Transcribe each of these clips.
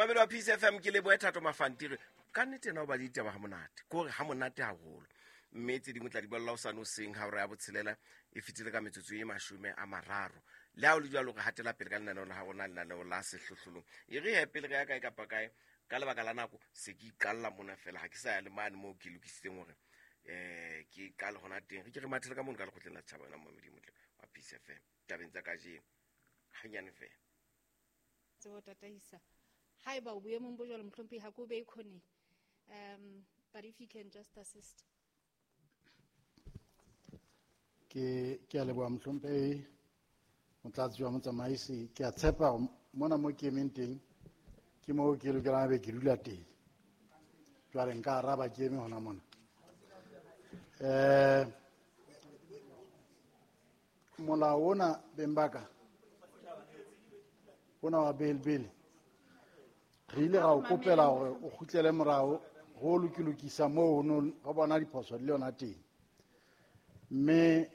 Momamedi wa Peace FM, ke lebohe Thato Mafantiri. Ka nnete ena o ba le ditaba ha monate, ke hore ha monate haholo. Mme tse dingwe tla di balla hosane hoseng ha hora ya botshelela e fetile ka metsotso e 30. Le ha o le jwalo, re hatela pele ka lenaneo la ha rona, lenaneo la sehlohlolong. E re he pele re ya kae kapa kae, ka lebaka la nako se ke iqalla mona fela, ha ke sa ya le mane moo ke lokisitseng hore ke qale hona teng. Re ke re mathele ka mono ka lekgotleng la setjhaba, wena momamedi motle wa Peace FM. Tabeng tsa kajeno hanyane fela. Tsebo tataisa. Haeba o boemong bo jwalo, mohlomphehi, ha ke o behe khoneng. But if you can just assist. Ke a leboha mohlomphehi, motlatsi wa motsamaisi. Ke a tshepa hore mona mo ke emeng teng ke moo ke lokelang be ke dula teng. Jwale nka araba ke eme hona mona. Molao ona beng ba ka, ona wa bail bill, re ile ra o kopela hore o kgutlele morao ho lokilokisa moo ho no re bona diphoso di le yona teng. Mme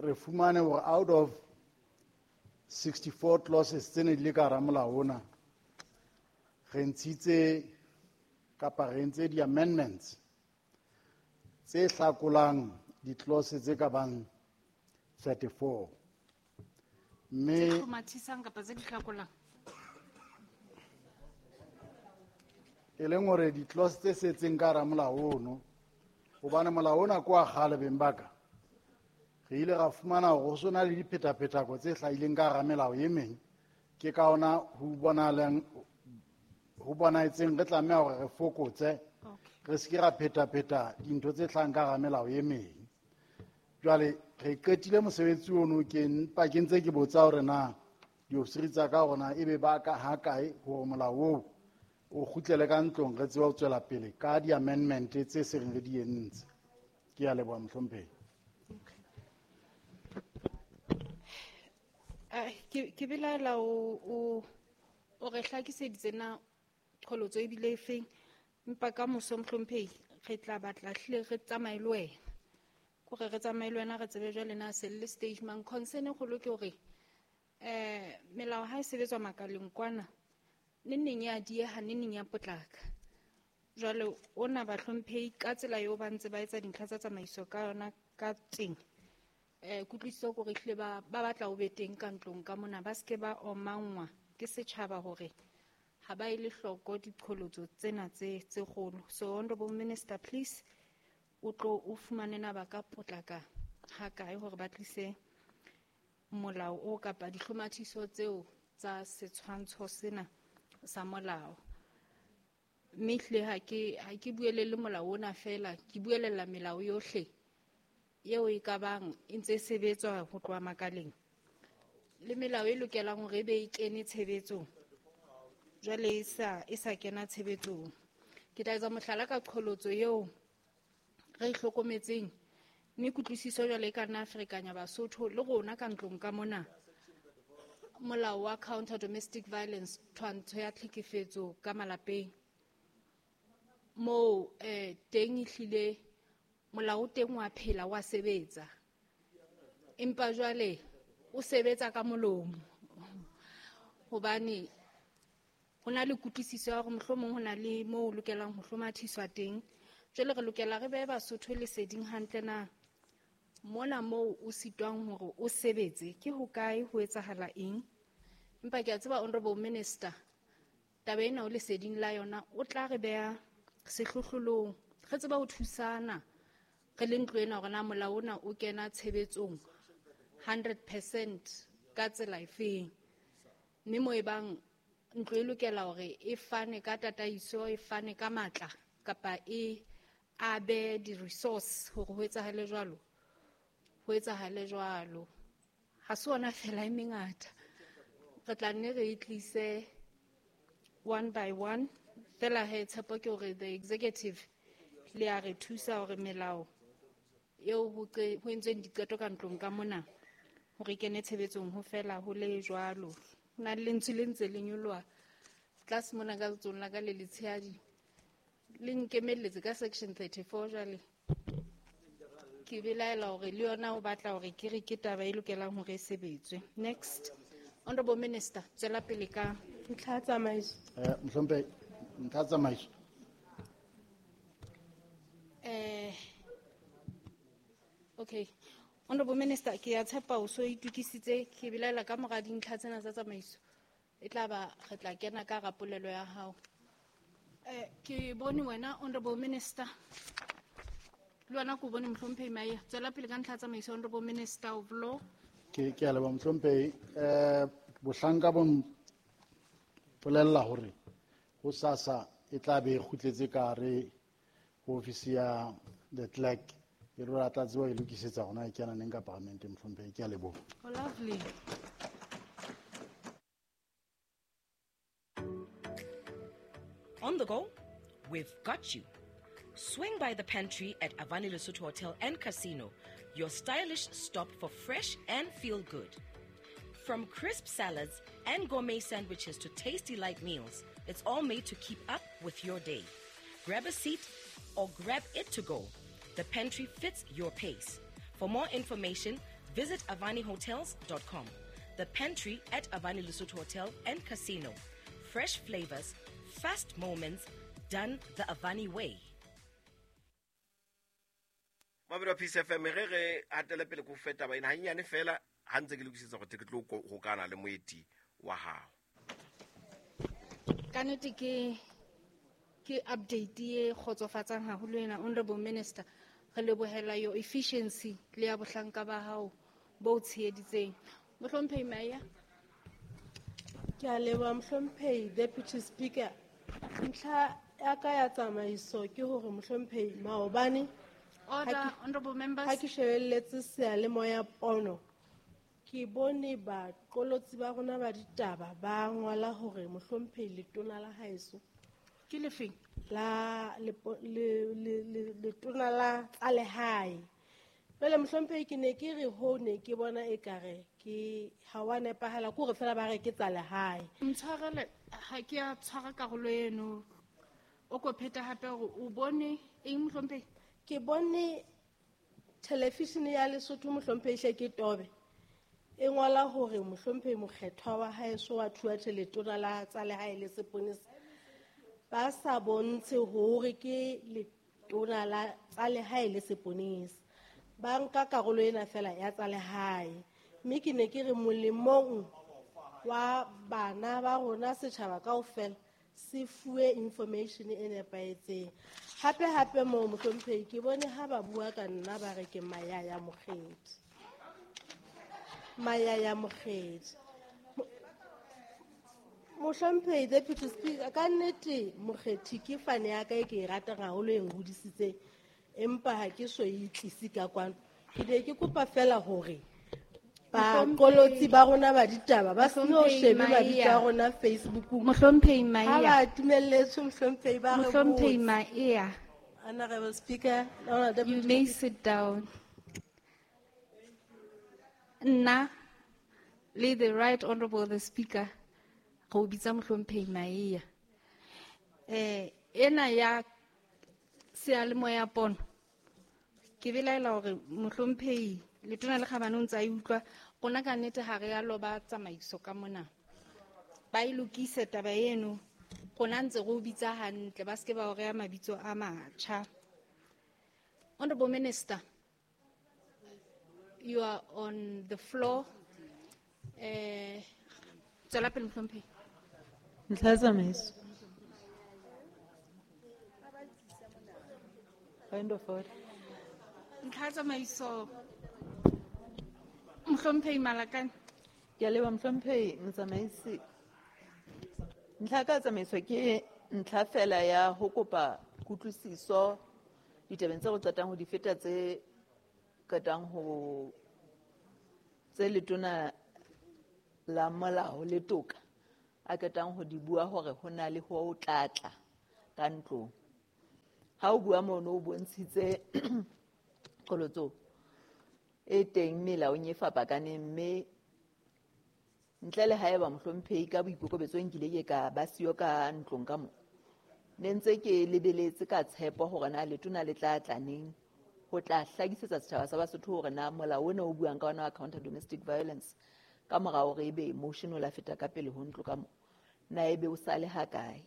re fumane hore out of 64 clauses tse ne di le ka hara molao ona, re ntshitse kapa re entse di-amendments tse hlakolang di-clause tse ka bang 34. Mme tse hlomathisang kapa tse di hlakolang? E leng hore di-clause tse setseng ka hara molao ono, hobane molao ona ke wa kgale beng ba ka, re ile ra fumana hore ho so na le diphetaphethako tse hlahileng ka hara melao e meng. Ke ka hona ho bonahetseng re tlameha hore re fokotse, re se ke ra phetapheta dintho tse hlahang ka hara melao e meng. Jwale re qetile mosebetsi ono, ke mpa ke ntse ke botsa hore na diofisiri tsa ka hore na ebe ba ka ha kae hore molao oo o kgutlele ka ntlong, re tsebe ho tswela pele ka di-amendment tse seng re di entse. Ke a leboha mohlomphehi. Ke belaela o re hlakiseditse na qholotso ebile e feng, empa ka moso mohlomphehi re tla batla hlile re tsamaye le wena. Kore re tsamaye le wena re tsebe jwale na se le stage mang. Concern e kgolo ke hore, melao ha e sebetswa makaleng kwana, neng neng ya dieha, neng neng ya potlaka. Jwale ona bahlomphehi ka tsela eo ba ntse ba etsa dintlha tsa tsamaiso ka yona ka teng. Kutlwisiso ke hore ehlile ba batla ho be teng ka ntlong ka mona, ba seke ba omanngwa ke setjhaba hore ha ba ele hloko diqholotso tsena tse kgolo. So Honorable Minister, please, o tlo o fumane na ba ka potlaka ha kae hore ba tlise molao o kapa dihlomathiso tseo tsa setshwantsho sena sa molao. Mme ehlile ha ke buelele molao ona fela, ke buelella melao yohle eo e ka bang e ntse e sebetswa ho tloha makaleng, le melao e lokelang hore e be e kene tshebetsong, jwale e sa kena tshebetsong. Ke tla etsa mohlala ka qholotso eo re e hlokometseng, mme kutlwisiso jwale e ka nna ferekanya Basotho le rona ka ntlong ka mona. Molao wa counter domestic violence, twantsho ya tlhekefetso ka malapeng, moo teng ehlile molao o teng wa phela, wa sebetsa, empa jwale o sebetsa ka molomo, hobane ho na le kutlwisiso ya hore mohlomong ho na le moo o lokelang ho hlomathiswa teng. Jwale re lokela re behe Basotho leseding hantle na mona moo o sitwang hore o sebetse ke hokae, ho etsahala eng. Empa ke a tseba Honorable Minister, taba ena o leseding la yona, o tla re beha sehlohlolong, re tseba ho thusana re le ntlo ena hore na molao ona o kena tshebetsong 100% ka tsela efeng. Mme moo e bang ntlo e lokela hore e fane ka tataiso, e fane ka matla, kapa e abe di-resource hore ho etsahale jwalo, ho etsahale jwalo. Ha se ona fela e mengata, re tla nne re e tlise one by one. Fela he tshepo ke hore the executive le a re thusa hore melao eo ho entsweng diqeto ka ntlong ka mona hore e kene tshebetsong ho fela ho le jwalo. Ho na le lentswe le ntse le nyoloha tlase mona ka letsohong la ka le letshehadi, le nkemelletse ka section 34. Jwale ke belaela hore le yona o batla hore ke re ke taba e lokelang hore e sebetswe. Next, Honorable Minister, tswela pele ka. Ntlha ya tsamaiso. Mohlomphehi, ntlha ya tsamaiso. Okay. Honorable Minister, ke a tshepa o so itokisitse, ke belaela ka mora dintlha tsena tsa tsamaiso. E tla ba re tla kena ka hara polelo ya hao. Ke bone wena Honorable Minister. Le wena ke o bone Mohlomphehi Maia. Tswela pele ka ntlha ya tsamaiso, Honorable Minister of Law. Ke a leboha Mohlomphehi. Bohlanka bo mpolella hore hosasa e tla be e kgutletse ka hare ho ofisi ya the clerk. E le hore a tla tseba ho e lokisetsa hore na e kena neng ka parlamenteng, Mohlomphehi. Ke a leboha. Oh, lovely. On the go? We've got you. Swing by the pantry at Avani Lesotho Hotel and Casino, your stylish stop for fresh and feel good. From crisp salads and gourmet sandwiches to tasty light meals, it's all made to keep up with your day. Grab a seat or grab it to go. The pantry fits your pace. For more information, visit avanihotels.com. The pantry at Avani Lesotho Hotel and Casino. Fresh flavors, fast moments, done the Avani way. Mabelo Peace FM, re re hatele pele ko feta ba ina hanyane fela ha ntse ke lokisetsa go te ke tlo hokana le moeti wa hao. Ka nnete ke update e kgotsofatsang haholo ena, Honorable Minister. Re lebohela your efficiency le ya bohlanka ba hao bo tsheheditseng. Mohlomphehi Maia. Ke a leboha Mohlomphehi Deputy Speaker. Ntlha ya ka ya tsamaiso ke hore Mohlomphehi maobane Order, honorable members. Ha ke shebelletse seyalemoya pono, ke bone baqolotsi ba rona ba ditaba ba ngola hore Mohlomphehi letona la haeso Ke lefeng? La letona la tsa lehae. Jwale Mohlomphehi ke ne ke re ho ne ke bona ekare ke ha wa nepahala, ke hore fela ba re ke tsa lehae. Ntshwarele, ha ke a tshwara karolo eno. O ko pheta hape hore o bone eng Mohlomphehi? Ke bone television ya Lesotho Mohlomphehi hle ke tobe. E ngola hore Mohlomphehi mokgethwa wa haeso wa Thuathe letona la tsa lehae le seponesa ba sa bontshe hore ke letona la tsa lehae le seponesa. Ba nka karolo ena fela ya tsa lehae. Mme ke ne ke re molemong wa bana ba rona setjhaba kaofela se fuwe information e nepahetseng. Hape hape moo Mohlomphehi ke bone ha ba bua ka nna ba re ke Mayaya Mokgethi. Mayaya Mokgethi. Mohlomphehi Deputy Speaker, ka nnete Mokgethi ke fane ya ka e ke e ratang haholo e nhodisitseng, empa ha ke so e tlise ka kwano. Ke ne ke kopa fela hore baqolotsi ba rona ba ditaba ba se no Mohlomphehi shebe mabitso a Maia. rona Facebookong. Mohlomphehi Ha Maia. ba dumelletswe Mohlomphehi ba re Mohlomphehi botse. Maia. Honorable Speaker, Honorable Deputy You may Speaker. sit down. Nna le the right honorable the speaker go bitsa Mohlomphehi Maia. Ena ya seyalemoya pono ke belaela hore Mohlomphehi letona le kgabane o ntse a e utlwa. Rona ka nnete ha re a loba tsamaiso ka mona. Ba e lokise taba eno. Rona ntse re o bitsa hantle, ba seke ba o reha mabitso a matjha. Honorable Minister, you are on the floor. Tswela pele Mohlomphehi. Ntlha ya tsamaiso. Point of order. Ntlha ya tsamaiso. Mohlomphehi Malakane. Ke a leboha Mohlomphehi Motsamaisi. Ntlha ka tsamaiso ke ntlha fela ya ho kopa kutlwisiso ditabeng tse re qetang ho di feta tse qetang ho tse letona la molao le toka a qetang ho di bua hore ho na le ho tlatla ka ntlong. Ha o bua mono o bontshitse qholotso e teng melaong e fapakaneng, mme ntle le haeba Mohlomphehi ka boikokobetso nkile ke ka ba siyo ka ntlong ka mo, ne ntse ke lebeletse ka tshepo hore na letona le tla tla neng ho tla hlakisetsa setjhaba sa Basotho hore na molao ona o buang ka ona wa counter domestic violence ka mora hore ebe motion o la feta ka pele ho ntlo ka mo, Na ebe o sale ha kae?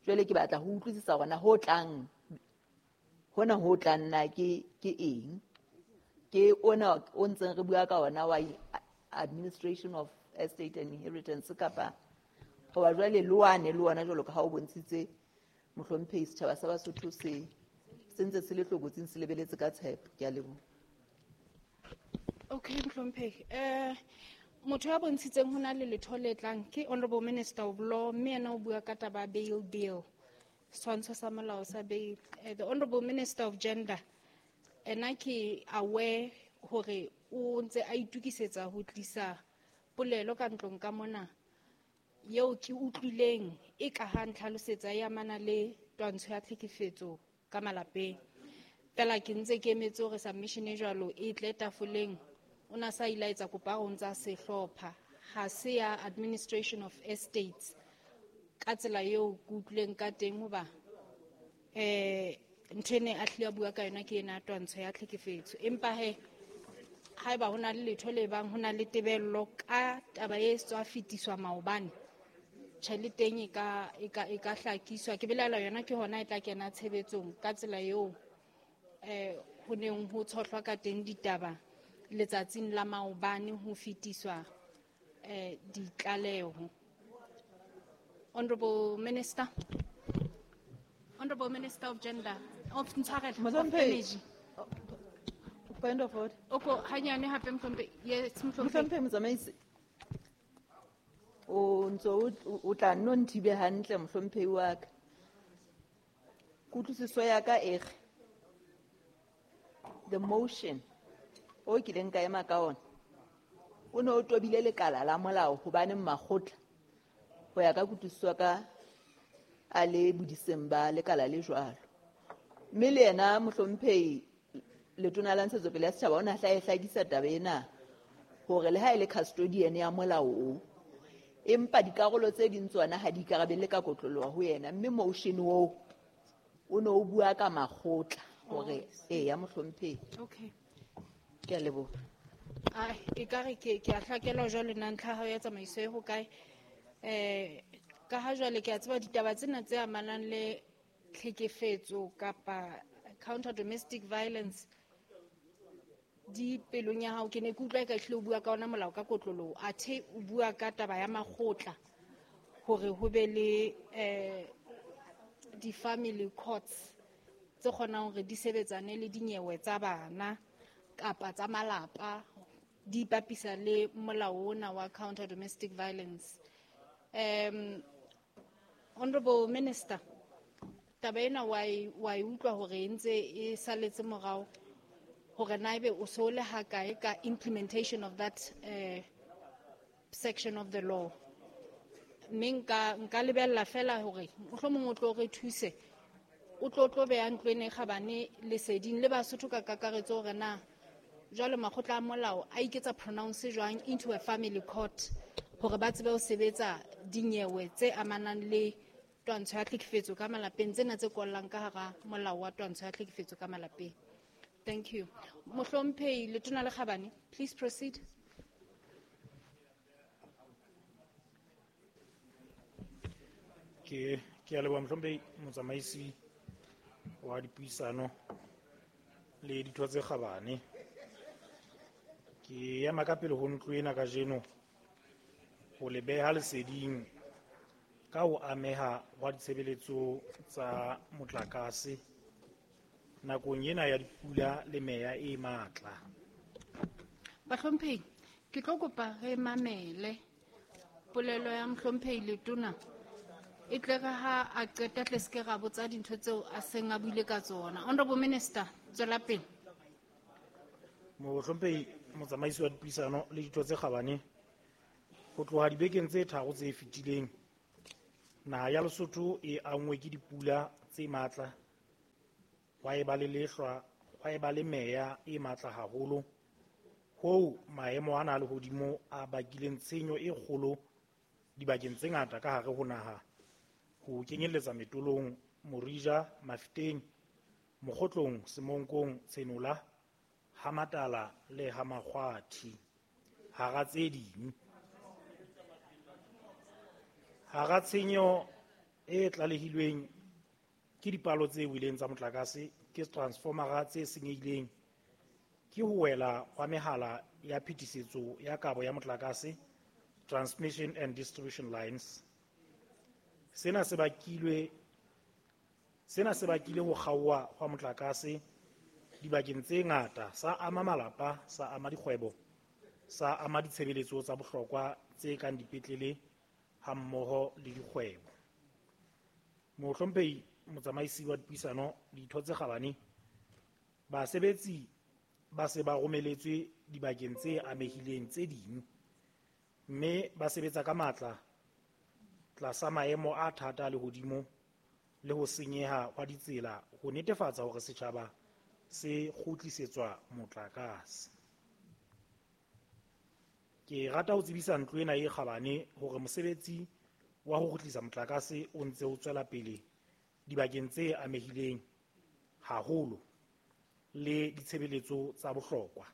Jwale ke batla ho utlwisisa hore na ho tlang hona ho tlang na ke eng? Ke ona o ntseng re bua ka ona wa administration of estate and inheritance kapa hoba jwale loane le ona jwalo ka ha o bontshitse mohlomphehi setjhaba sa Basotho se ntse se le tlokotsing se lebeletse ka tshepo. Ke a leboha. Okay, mohlomphehi. Motho ya bontshitseng ho na le letho le tlang ke Honorable Minister of Law, mme yena o bua ka taba ya bail bill, setshwantsho sa molao sa bail. The Honorable Minister of Gender, ena ke aware hore o ntse a itukisetsa ho tlisa polelo ka ntlong ka mona eo ke utlwileng e ka ha ntlhalosetsa e amana le twantsho ya tlhekefetso ka malapeng. Fela ke ntse ke emetse hore submission e jwalo e tle tafoleng. O na sa ile a etsa kopo ya hore o ntsa se hlopha. Ha se ya administration of estates ka tsela eo ke utlwileng ka teng hoba ntho e ne a hlile a bua ka yona ke ena ya twantsho ya tlhekefetso. Empa he haeba ho na le letho le bang ho na le tebello ka taba e tswa fetiswa maobane, tjhe le teng e ka hlakiswa. Ke belaela yona ke hona e tla kena tshebetsong ka tsela eo ho neng ho tshohlwa ka teng ditaba letsatsing la maobane ho fetiswa ditlaleho. Honorable Minister, Honorable Minister of Gender, of Ntshwarelo, of Energy. Point of order. Oko hanyane hape mohlomphehi. Yes, mohlomphehi. Mohlomphehi motsamaisi. O ntso o tla nno nthibe hantle mohlomphehi wa ka. Kutlwisiso ya ka e re the motion o kileng ka ema ka ona o ne o tobile lekala la molao hobane makgotla ho ya ka kutlwisiso ka a le bodiseng ba lekala le jwalo. Mme le yena mohlomphehi letona la Ntshetsopele ya Setjhaba o ne a hla e hlakisa taba ena hore le ha e le custodian ya molao o, empa dikarolo tse ding tsona ha di ikarabelle ka kotloloho ho yena. Mme motion oo o ne o bua ka makgotla hore eya mohlomphehi. Okay. Ke a leboha. Ai, ekare ke a hlakelwa jwale na ntlha ya hao ya tsamaiso e hokae? Ka ha jwale ke a tseba ditaba tsena tse amanang le tlhekefetso kapa counter domestic violence di pelong ya hao. Ke ne ke utlwa eka ehlile o bua ka ona molao ka kotloloho, athe o bua ka taba ya makgotla hore ho be le di-family courts tse kgonang hore di sebetsane le dinyewe tsa bana kapa tsa malapa, di ipapisa le molao ona wa counter domestic violence. Honorable Minister, taba ena wa e utlwa hore e ntse e saletse morao hore na ebe o so le ha kae ka implementation of that section of the law. Mme nka lebella fela hore mohlomong o tlo re thuse, o tlo beha ntlo ena e kgabane leseding le Basotho ka kakaretso hore na jwale makgotla a molao a iketsa pronounce jwang into a family court hore ba tsebe ho sebetsa dinyewe tse amanang le twantsho ya tlhekefetso ka malapeng, tsena tse kollang ka hara molao wa twantsho ya tlhekefetso ka malapeng. Thank you. Mohlomphehi Letona le Kgabane, please proceed. Ke a leboha mohlomphehi motsamaisi wa dipuisano le ditho tse kgabane. Ke ema ka pele ho ntlo ena kajeno ho le beha leseding ka ho ameha hwa ditshebeletso tsa motlakase nakong ena ya dipula le meya e matla. Bahlomphehi, ke tlo kopa re mamele polelo ya mohlomphehi Letona e tle re ha a qeta tle se ke ra botsa dintho tseo a seng a buile ka tsona. Honorable Minister, tswela pele. Mohlomphehi motsamaisi wa dipuisano le ditho tse kgabane, ho tloha dibekeng tse tharo tse fetileng naha ya Lesotho e anngwe ke dipula tse matla, hwa eba le lehlwa, hwa eba le meya e matla haholo, hoo maemo ana a lehodimo a bakileng tshenyo e kgolo dibakeng tse ngata ka hare ho naha, ho kenyelletsa Metolong, Morija, Mafeteng, Mokgotlong, Semonkong, Tshenola, Hamatala le Hamakgwathi, hara tse ding. Hara tshenyo e tlalehilweng ke dipalo tse weleng tsa motlakase, ke transformera tse senyehileng, ke ho wela hwa mehala ya phetisetso ya kabo ya motlakase, transmission and distribution lines. Sena se bakile ho kgaoha hwa motlakase dibakeng tse ngata, sa ama malapa, sa ama dikgwebo, sa ama ditshebeletso tsa bohlokwa tse kang dipetlele hammoho le dikgwebo. Mohlomphehi motsamaisi wa dipuisano, ditho tse kgabane, basebetsi ba se ba romeletswe dibakeng tse amehileng tse ding, mme ba sebetsa ka matla tlasa maemo a thata a lehodimo le ho senyeha hwa ditsela ho netefatsa hore setjhaba se kgutlisetswa motlakase. Ke rata ho tsebisa ntlo ena e kgabane hore mosebetsi wa ho kgutlisa motlakase o ntse o tswela pele dibakeng tse amehileng haholo le ditshebeletso tsa bohlokwa.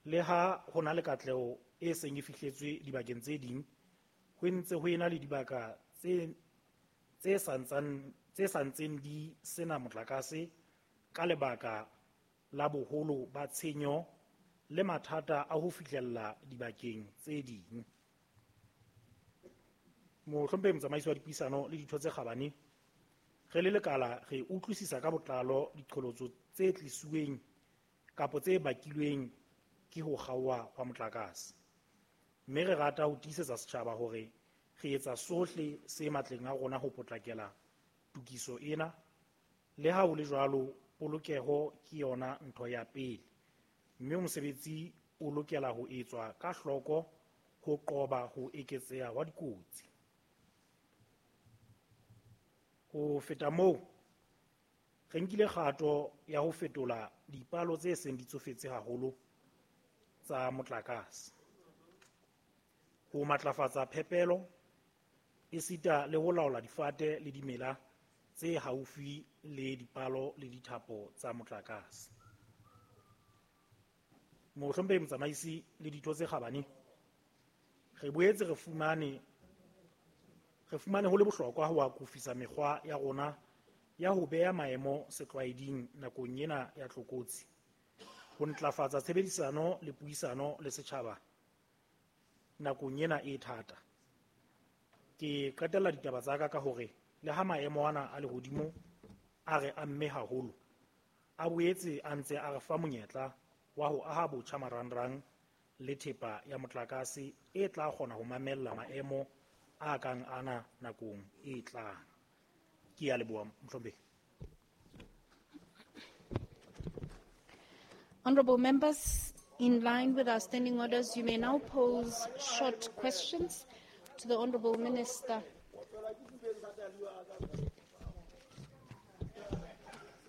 Le ha ho na le katleho e seng e fihletswe dibakeng tse ding, ho ntse ho ena le dibaka tse santseng di sena motlakase ka lebaka la boholo ba tshenyo le mathata a ho fihlella dibakeng tse ding. Mohlomphehi motsamaisi wa dipuisano le ditho tse kgabane, re le lekala re utlwisisa ka botlalo diqholotso tse tlisuweng kapa tse bakilweng ke ho kgaoha hwa motlakase, mme re rata ho tiisetsa setjhaba hore re etsa sohle se matleng a rona ho potlakela tokiso ena. Le ha ho le jwalo, polokeho ke yona ntho ya pele, mme mosebetsi o lokela ho etswa ka hloko ho qoba ho eketseha hwa dikotsi. Ho feta moo, re nkile kgato ya ho fetola dipalo tse seng di tsofetse haholo tsa motlakase, ho matlafatsa phepelo esita le ho laola difate le dimela tse haufi le dipalo le dithapo tsa motlakase. Mohlomphehi motsamaisi le ditho tse kgabane, re boetse re fumane ho le bohlokwa ho akofisa mekgwa ya rona ya ho beha maemo setlwaeding nakong ena ya tlokotsi, ho ntlafatsa tshebedisano le puisano le setjhaba nakong ena e thata. Ke qetella ditaba tsa ka hore le ha maemo ana a lehodimo a re amme haholo, a boetse a ntse a re fa monyetla wa ho aha botjha marangrang le thepa ya motlakase e tla kgona ho mamella maemo a kang ana nakong e tlang. Ke a leboha, mohlomphehi. Honorable members, in line with our standing orders, you may now pose short questions to the Honorable Minister.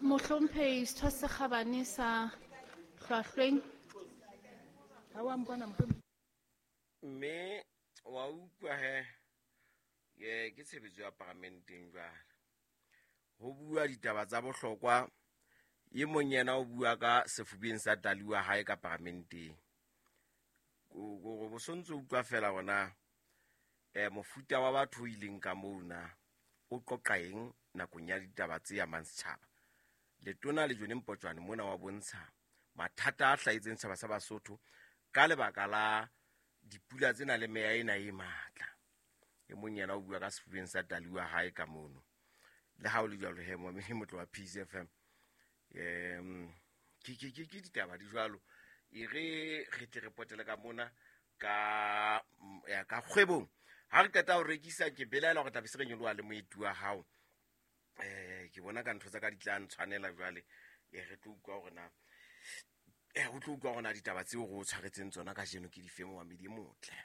Mohlomphehi setho se kgabane sa Hlwahlweng. Mme wa utlwa he, ke tshebetso ya paramenteng jwale. Ho bua ditaba tsa bohlokwa, e mong yena o bua ka sefubeng sa tali wa hae ka paramenteng. Gore bo sontse utlwa fela hona mofuta wa batho o ileng ka mona o qoqa eng nakong ya ditaba tse amang setjhaba. Letona le Jone Mpotjwane mona wa bontsha mathata a hlahetseng setjhaba sa Basotho ka lebaka la dipula tsena le meya ena e matla. E mong yena o bua ka sefubeng sa tali wa hae ka mono. Le ha o le jwalo he, momedi motlo wa Peace FM. Ke ditaba di jwalo. E re re tle re potele ka mona ka kgwebong. Ha re qeta ho rekisa, ke belaela hore tla be se re nyoloha le moeti wa hao. Ke bona ka ntho tsa ka di tla ntshwanela jwale. Re tlo utlwa hore na o tlo utlwa hore na ditaba tseo re o tshwaretseng tsona kajeno ke dife, momedi motle.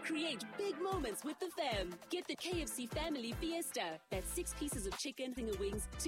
Create big moments with the fam. Get the KFC Family Fiesta. That's 6 pieces of chicken, finger wings, 2